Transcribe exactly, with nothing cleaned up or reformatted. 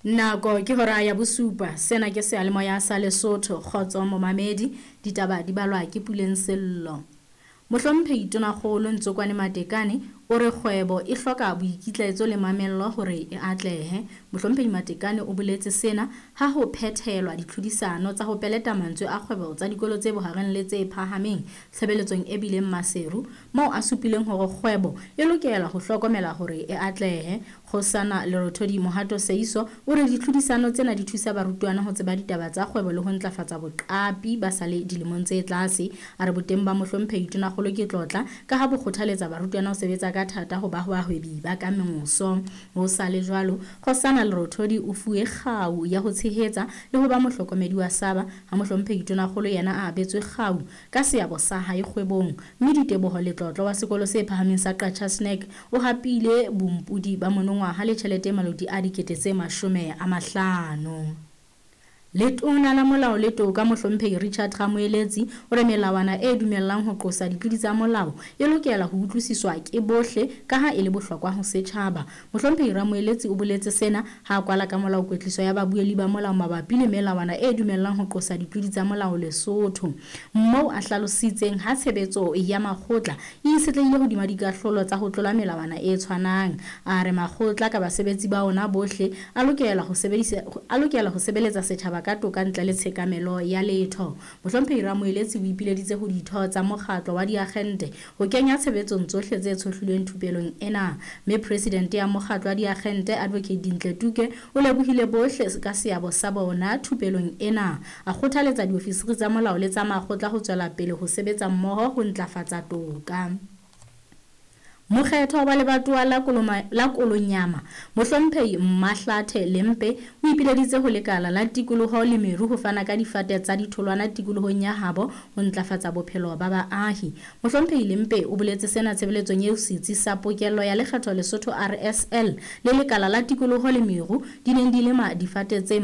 Nako ke hora ya bosupa. Sena ke seyalemoya sa Lesotho. Kgotso momamedi, ditaba di balwa ke Puleng Sello. Mohlomphehi Tonakgolo Ntsokwane Matekane o re kgwebo e hloka boikitlaetso le mamello hore e atlehe. Mohlomphehi Matekane o boletse sena ha ho phethelwa ditlhodisano tsa ho peleta mantswe a kgwebo tsa dikolo tse bohareng le tse phahameng tshebeletsong e bileng Maseru, moo a supileng hore kgwebo e lokela ho hlokomela hore e atlehe. Kgosana Lerothodi Mohato Seiso o re ditlhodisano tsena di thusa barutwana ho tseba ditaba tsa kgwebo le ho ntlafatsa boqapi ba sa le dilemong tse tlase. A re boteng ba mohlomphehi Tonakgolo ke tlotla ka ha bo kgothaletsa barutwana ho sebetsa ka thata ho ba bahwebi ba ka moso. Ho sa le jwalo, Kgosana Lerothodi o fuwe kgau ya ho tshehetsa le ho ba mohlokomedi wa Saba, ha mohlomphehi Tonakgolo yena a abetswe kgau ka seabo sa hae kgwebong. Mme Diteboho Letlotlo wa sekolo se phahameng sa Qacha's Nek o hapile bompodi ba monongwaha le tjhelete e maloti a dikete tse mashome a mahlano. Letona la Molao le Toka Mohlomphehi Richard Ramoeletsi o re melawana e dumellang ho qosa ditlodi tsa molao e lokela ho utlwisiswa ke bohle ka ha e le bohlokwa ho setjhaba. Mohlomphehi Ramoeletsi o boletse sena ha a kwala ka molao kwetliso ya babuelli ba molao mabapi le melawana e dumellang ho qosa ditlodi tsa molao Lesotho, moo a hlalositseng ha tshebetso ya makgotla e itshetlehile hodima dikahlolo tsa ho tlola melawana e tshwanang. A re makgotla ka basebetsi ba ona bohle a lokela ho sebedisa a lokela ho sebeletsa setjhaba ka toka ntle le tshekamelo ya letho. Mohlomphehi Ramoeletsi o ipileditse ho ditho tsa mokgatlo wa diakgente ho kenya tshebetsong tsohle tse tshohlilweng thupelong ena. Mme presidente ya mokgatlo wa diakgente Advocate Dintle Tuke o lebohile bohle ka seabo sa bona thupelong ena. A kgothaletsa diofisiri tsa molao le tsa makgotla ho tswela pele ho sebetsa mmoho ho ntlafatsa toka. Mokgetho wa lebatowa la Koloma, la Kolonyama Mohlomphehi Mahlathe Lempe o ipileditse ho lekala la tikoloho le meru ho fana ka difate tsa ditholwana tikolohong ya habo ho ntlafatsa bophelo ba baahi. Mohlomphehi Lempe o boletse sena tshebeletsong eo setsi sa pokello ya lekgetho Lesotho R S L le lekala la tikoloho le meru di neng di lema difate tse